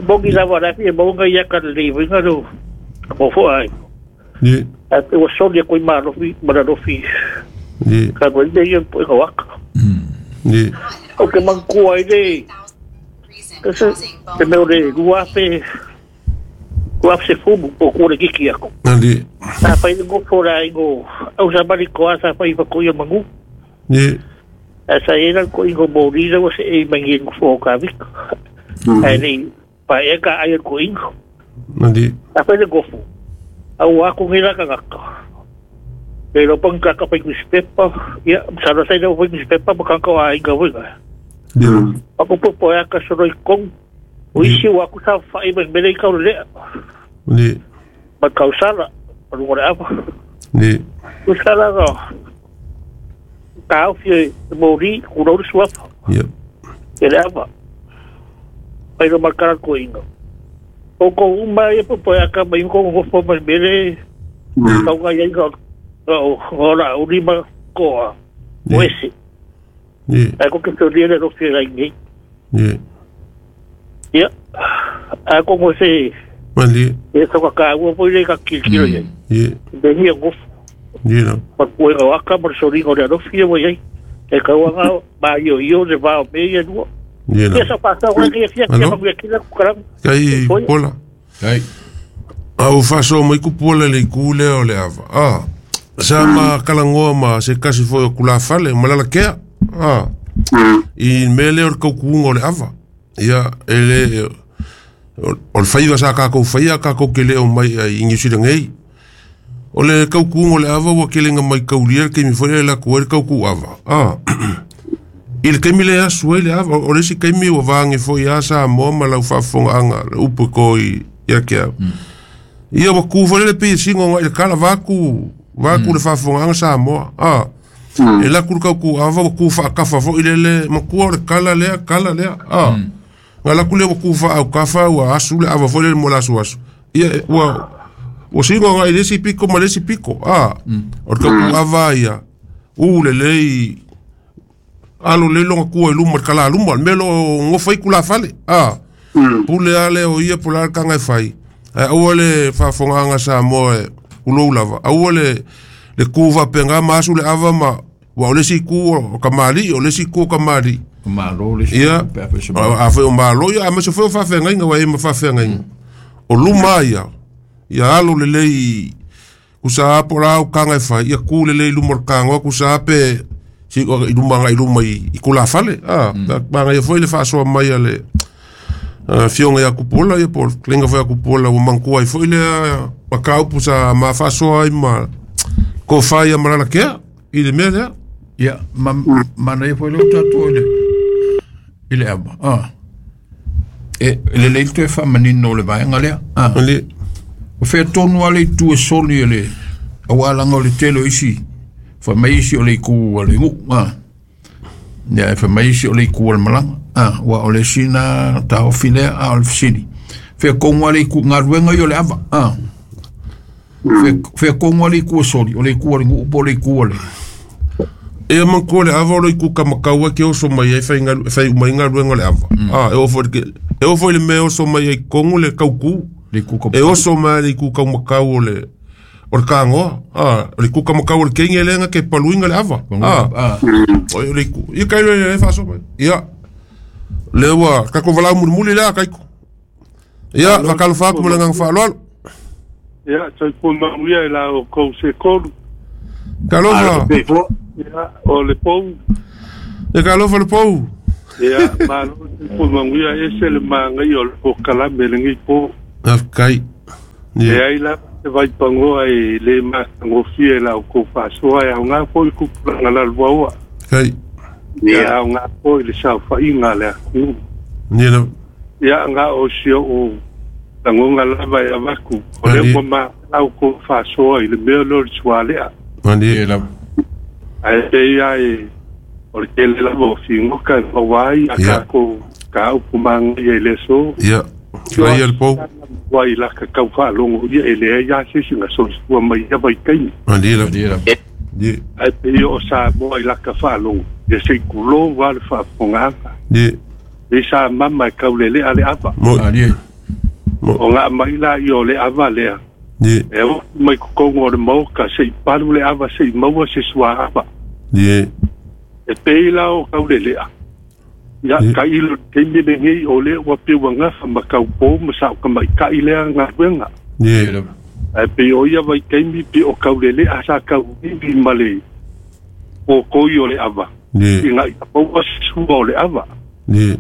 Bongi lava rafi e maunga ia ka le winga ro. Ngofo ai. Ia. A te o soli e koi malofi, maralofi. Ia. Ka koe le ia po e waka. Ia. O ke mangkua i le. Te meo le ruape. Ruape se fumu o kua le kiki ako. Ali. Sa whai le ngofo la ingo. Au sa mari koa sa whai whako ia mangu. Ia. A sa ena ko ingo mōrira wa se e mangi ngofo o ka vika. Ai nei pa e ka ai ko ingo. Ali. A whai le ngofo. Au aku ngira ka ngaka. E lo pang ka ka pai newspaper. Ia, sa sa ina pai newspaper pa ka ka inga winga. Ia. Ako po po ka soro i kong. O isi o aku sa whai mai mele i kau lea. Ia. Ma kau sala. Paru ngore apa. Ia. O sala ka. Ka au fia mōri kurau suapa. Ia. E le apa. Pai lo makara ko inga. O ko uma e po po ka mai ko ngofo mai mele. Kau ngai ai ka o ora urima koa. O ese. Ia. Ai ko ke te rie ro fia ai nei. Ia. Ia. A ko mo se Ali. e so ka ka ua po ile ka kilo ia. Ia. Be hi ngofo. Ia. Pa ko e aka mo so ringo le ro fia mo ia. E ka ua ba yo yo de va me ia no. Ia. Ia sa pasa o ke fia ke ma kila ku kara. Kai Pola. Kai. Au faasoa mai kupu le iku lea o le ava. Ah. Sa ma kalangoa ma se kasi foi o kulafale ma lala kea. Ah. I mea lea o le kaukuuga o le ava. Ia e le o le faiva sa kākou faia kākou ke leo mai ai i Niu Sila nei. O le kaukuuga o le ava ua kelega mai kaulia le kaimi foi lea e lakou ai le kaukuu ava. Ah. I le kaimi le asu ai le ava, o le isi kaimi ua vage foi a Samoa ma lau faafofogaaga le upu e ko i ia ke au. Ia ua ku foi le pei e sigo agai le kala vaku le faafofogaaga Samoa. Ah. E laku le kaukuu ava ua ku faakafa foi lele makua o le kala lea kala lea. Ah. Nga laku lea ua ku faaukafa ua asu le ava foi lele mo le asu asu. Ia ua sigo agai le isi piko ma le isi piko. Ah. O le kaukuu ava ia u lelei alo le longa kua i luma le kala luma le mea lo ngofa i kula fale. Ah. Pule ale o ia pula le kanga e fai. Aua le faafogaaga Samoa e ulou lava. Aua le ku faapeaga ma asu le ava ma ua o le isi ku o ka mali'i o le isi ku o ka mali'i. Malo le isi Ia. ku pe a se A foi o malo ia a ma se foi o faafeagaiga ua e ma faafeagaiga. O luma ia. Ia alo lelei kusa apo la au kanga e fai. Ia ku lelei luma o le kagoa kusa ape si i luma agai luma i kula fale. Ah, manaia foi le faasoa mai a le fioga ia Kupola ia po o le kelega foi a Kupola ua manatua ai foi lea mataupu sa ma faasoa ai ma tofa ia ma Lalakea i le mea lea. Ia, manaia foi leo tatou i le ava. Ah. E lelei toe faamanino o le vaega lea. Ah. Ali. O fea tonu a le itu e soli e le auā laga o le tele o isi fai isi o le iku a le gu'u. Ah. Ia e fai isi o le iku a le malaga. Ah, ua o le sina taofi lea a o le fesili. Fea kogu a le iku galuega ia o le ava. Ah. Fea kogu a le iku e soli o le iku a le gu'u po o le iku a le. Ia manatua le ava o le iku kamakau ai ke oso mai ai fai uma ai galuega o le ava. Ah, e oo foi le mea e oso mai ai kogu le kaukū. E oso mai le iku kaumakau o le kagoa. Ah, o le iku kamakau o le kegi e lega ke paluiga le ava. Ah. O le iku. Ia kai le faasoa mai. Ia. Le ua tatou valaau mulimuli lea kaiko. Ia, faatalofa atu ma le agaga faaaloalo. Ia, soifua manuia i la outou se tolu. Talofa. Ia, o le pou. E talofa le pou. Ia, malo soifua manuia ese le magaia o le polokalame lenei po. Faafetai. E ai lava se vaipagoa e lē matagofie i la outou faasoa e aogā foi le tupulaga lalovaoa. Kai. Ia aogā foi le saofaiga a le atunuu. Ia. Ia na o si o'u lagona lava e avatu o lea ua maea outou faasoa i le mea lea o le sualea. Malie. Ae pei lava e o le tele lava o figota e maua ai a tatou mataupu magaia i le aso. Ia. Laia le pou. Ua i laka tau faalogo ia e leai lava se isi na soifua mai ia vaitaimi. Malie lava. Ie. Ae pei o Samoa i laka faalogo ia se i tulou lava le faafofogaaga. Ie. E sa mama e kaulelea le ava. Malie. O nga mai la i o le ava lea. Ie. E o mai totonu o le maoka se i palu le ava se i maua se suaava. Ie. E pei la o kaulelea. Ia tailo le taimi lenei o lea ua peu agafa ma taupō ma saokamaitai lea galuega. Ie. Ae pei o ia vaitaimi pe o kaulelea sa tauivi ma le pōkoi o le ava. Ie. Ina ia maua se sua o le ava. Ie.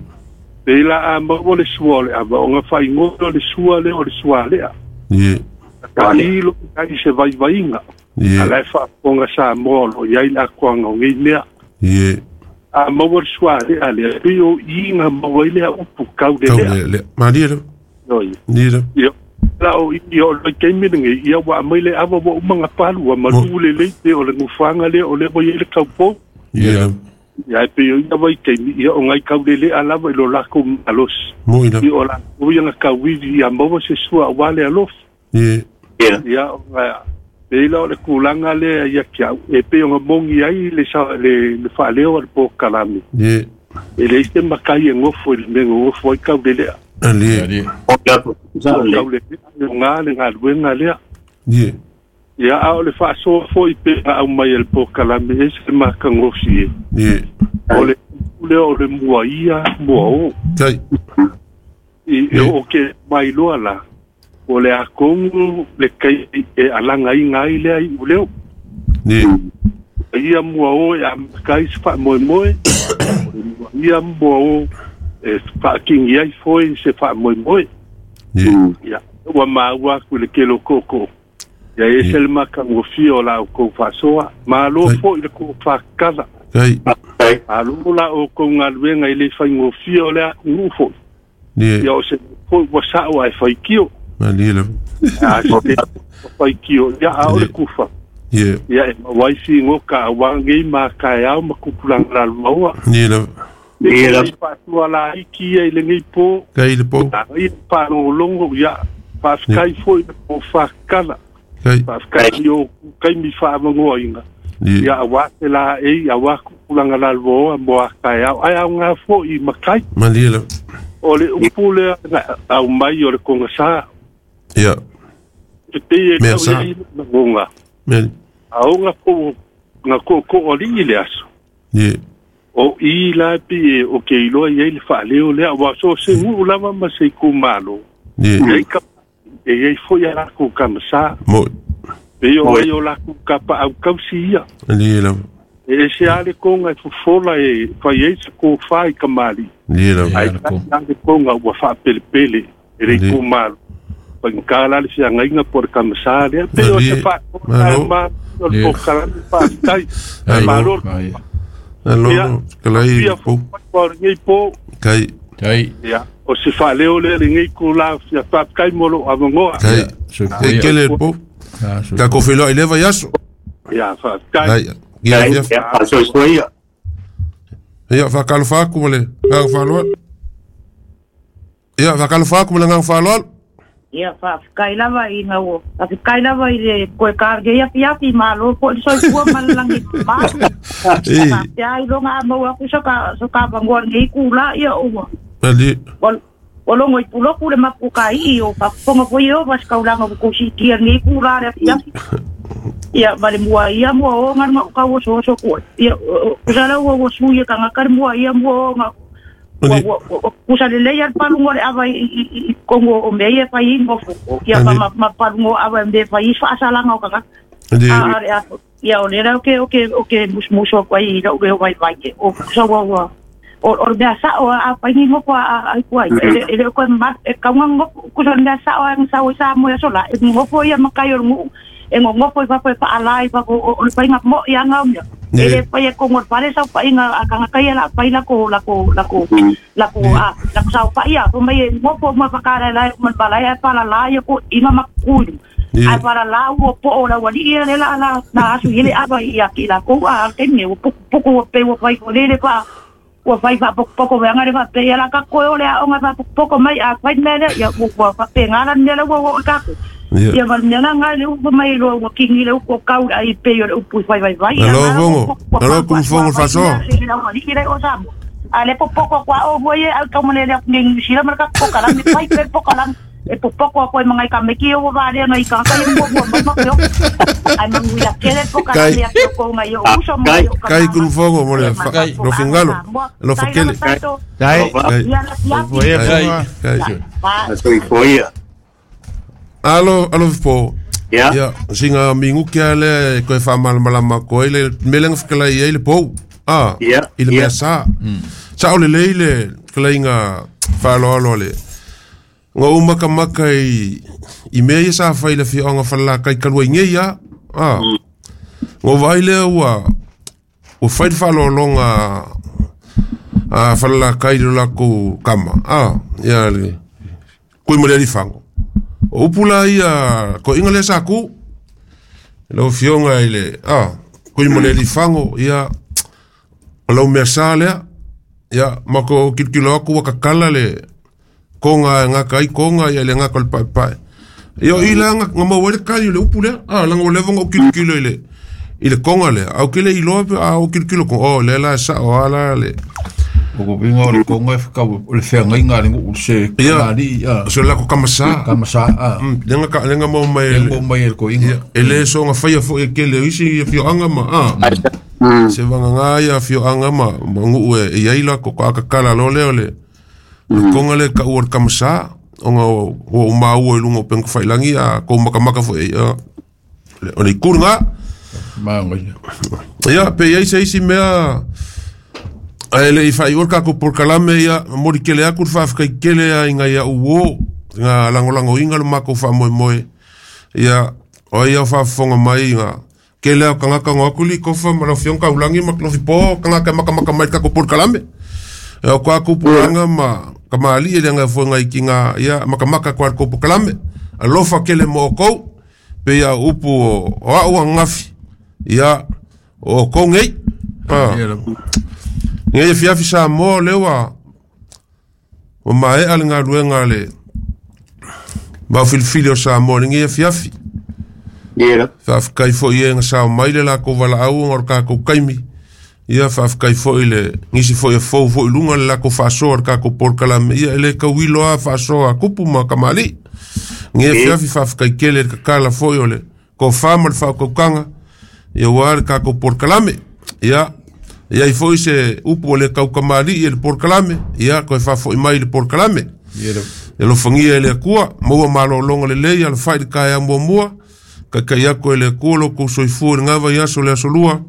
Pei la a maua le sua o le ava o gafaigō o le sua lea o le sualea. Ie. Tailo ai se vaivaiga. Ie. A la e faafofoga Samoa o loo i ai le atoaga o nei mea. Ie. A maua le sualea lea pei o iga maua ai lea upu kaulelea. Kaulelea. Malie lava. Oi. Ie lava. Ia la o i o le taimi lenei ia ua aumai le ava ua uma gapalu ua malū lelei pe o le nofoaga lea o lea ua i ai le taupō. Ie lava. Ia e pei o ia vaitaimi ia o nai kaulelea lava i lo lakou malosi. Moi lava. I o lakou ia na tauivi ia maua se sua auā le alofi. Ie. Ia o pei la o le tulaga lea ia te au e pei ona mogi ai le le faaleo a le polokalame. Ie. E leai se matai e gofo i le mea e gofo ai kaulelea. Alie. O kaulelea e ogā le galuega lea. Ie. Ia a o le faasoa foʻi pe na aumai e le polokalame ese le matagofie. Ie. O le lea o le mua ia mua o. Tai. I o ke mailoa la o le akogu le kai e alagaiga ai lea iʻu leo. Ie. Ia mua o e amatakai se faamoemoe. O le mua ia mua o e faakigi ai foe se faamoemoe. Ie. Ia ua maua aku i le kelo koko. Ia ese le matagofie o la outou faasoa. Malo foʻi le kou faakala. Tai. Malo la outou galuega i le faigofie o le atunuu foʻi. Ie. Ia o se foʻi ua saʻo ae faitio. Malie lava. A se faitio ia a o le kufa. Ie. Ia e maua ai figoka auā nei ma kaeao ma tupulaga lalovaoa. Ie lava. Ia lava. Faatua laiti ia i lenei pō. Kai le pou. Ia faalogologo ia faafetai foʻi le po faakala. Kai. Faafetai i o kaimi faavagoaina. Ie. Ia auā se laei auā tupulaga lalovaoa mo a kaeao ae aogā foʻi i matai. Malie lava. O le upu lea na aumai o le kogasā. Ia. E pei e Mea tau sa. ia i lagoga. Mea. Aoga po na koʻokoʻoaliʻi le aso. Ie. O i la pi e o ke iloa i ai le faaleo lea ua so se guu lava ma se itumālo. Ie. E ai ka e ai foʻi a lakou kamasā. Moi. Pei o ai o lakou kapaaukausi ia. Malie lava. E ese a le koga e fofola e fai ai se kofā i kamaliʻi. Malie lava. Ae tasi a le koga ua faapelepele e le itumālo. Faigata la le feagaiga po o le kamasā lea. Pei o se Malie. faasoa Malo. ma o le polokalame faafetai. Malo. Alo. Kalai Ia le pou. o lenei pō. Kai. Tai. Ia, o se faaleo lea lenei kula fia faafetai mo lou avanoa. Kai. E kele le pou. Tatou feiloai i le vaiaso. Ia, faafetai. Ai. Ia ia. Faasoifua ia. Ia faakalofa atu ma le agaga faaaloalo. Ia faakalofa atu ma le agaga faaaloalo. Ia faafetai lava ina ua faafetai lava i le koe kargei afiafi malo po le soifua ma le lagi ma. Ei. Faapea iloga a maua aku so ka so ka vangoa lenei kula ia ua. Malie. Ua logo i puloku le mapukaii o faafofoga foi e ova se kaulaga ua kou siitia lenei kula le afiafi. Ia ma le mua ia mua o ga le gaʻu kauosooso kuai. Ia kusala ua ua sui e kagaka le mua ia mua o gaʻu. Kusa lelei a le palugo o le ava i kogo o mea ia e fai ai gofo ia ma palugo o ava e mea e fai ai faasalaga o tagata. A ia o lea o ke musumusu aku ai i la'u leo vaivai o kusa ua o le mea sa'o a fai ni gofo a ai e le o koe e kauga gofo kusa le mea sa'o a sau ai sa mo aso la e gofo ia makai o le nu'u e gogofo i fafo e fa'alā i fafo o le faiga mo'i aga o mea e le fai e kogo le fale saupa'iga a tagata ia la fai lako lako lako lako a lako saupa'i a fai mai e gofo uma fakalaelae uma le malae ae falalā ia ko'iga ma kukui ae falalā ua po'o o le auali'i ia le la na asu i le ava ia ki lakou a taimi ua pukupuku ua pei ua fai lele fa ua fai faapokopoko veaga le faapea ia la kakoe o le aoga faapokopoko mai a fai mea lea ia ua faapega la mea la ua oo i tatou ia ma le mea la ga le upu mai loa ua kigi le upu o kau le ai pei o le upu i fai vaivai Alo fongo, alo kum fongo faso. A le popoko kwa o voi e au tau mane le ngi New Zealand ma ka pokalame fai pe pokalame e popoko a koe mangai ka meki o wa le ngai ka ka mo mo mo mo ai manguia kele pokalame a ko ngai o uso mo Kai kum fongo mo le lo fingalo, lo fakele. Kai. Kai. Kai. Kai. Soifua. Alo, alo po. Ya. Ya, singa mingu kia le koe wha malamalama koe le melenga whakalai ai le pou. Ah, Ya, i le ya. mea sa. Sa o le lei le kalaiga whaaloalo le. Ngā umaka maka i mea ia sa whai le whionga whala kai kalua i ngei ia. Ah. Ngā vai lea ua whai le whaaloalonga a whala kai le lako kama. Ah, ia le kui mo le alifango. O upula ia ko inga le sa ku. Lau fionga i le kui mo le alifango ia o lau mea sa lea. Ia mako kilokilo aku wakakala le konga ngaka ai konga ia le ngaka o le paepae. Ia o ila nga maua ai le kali o le upu lea. Ah, langa o leva nga o kilokilo i le konga lea. Au kele iloa pe a o kilokilo konga. Oh, le la sa o ala le. O ko pinga o le konga e whakau o le whangainga le ngu se Ia. kanari ia. So la ko kamasa. Kamasa a. Lenga ka lenga mau mai Lenga mau mai e ko inga. Ia, e le so nga whaia fo e kele o isi ia fioanga ma a. Se wanga ngā ia fioanga ma ngu e iai la ko ka akakala lo leo le. Le konga le ka ua le kamasa o nga o maua i lunga o penga whailangi a ko makamaka fo e ia. O le ikuru ngā. Maanga ia. Ia, pe iai se isi mea ai le i whai ua kako por kalame ia mori kele aku le whaafkai kele a inga ia uo ngā langolango inga le mako wha moe moe ia o ia whaafonga mai ngā kele au kangaka ngā akuli kofa ma lau fionga ulangi ma klofi po kangaka maka maka mai kako por kalame e o kwa kupuranga ma kamali e lenga fuenga i ki ngā ia maka maka kwa ko por kalame alofa kele mo o kou pe ia upu o au angafi ia o kou ngei. Ngai e fiafi sa mo lewa o mae ale ngā luenga le mau filifili o Samoa le ngai e fiafi. Ia. Faafetai foi e ngā sao mai le lako valaau ngā o kākou kaimi. Ia faafetai foi le ngisi foi e fou foi lunga le lako faasoa le kākou polokalame. Ia e le kauilo a faasoa a kupu ma kamali'i. Ngai e fiafi faafetai kele le kakala foi o le kofā ma le faaukaukanga. Ia ua le kākou polokalame. Ia ia i foi se upu o le kaukamali'i e le polokalame. Ia koe faafoi mai le polokalame. E lofagia e le Akua, maua malōlōga lelei alafai le kaea muamua, kaikai aku e le Akua lo kou soifua i le gava i aso le aso lua,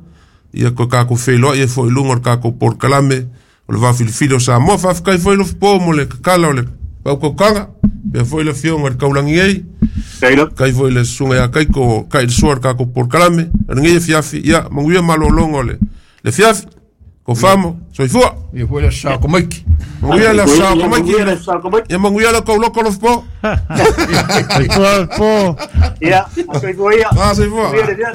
ia koe kākou feiloai e foi i luga o le kākou polokalame o le vaafilifili o Samoa. Faafetai foi lofopō mo le kakala o le paukaukaga, pea foi le afioga i le kaulangi ai, kai foi le susuga ia Kaiko kai le soa le kākou polokalame, o lenei afiafi, ia manuia malōlōga o le fiafi. Ko famo, soifua. Ia foi le sa ko maiki. Manguia le sa ko maiki. Ia manguia le kau loko lofopō. Soifua po. Ia, soifua ia. Ah, soifua. Ia.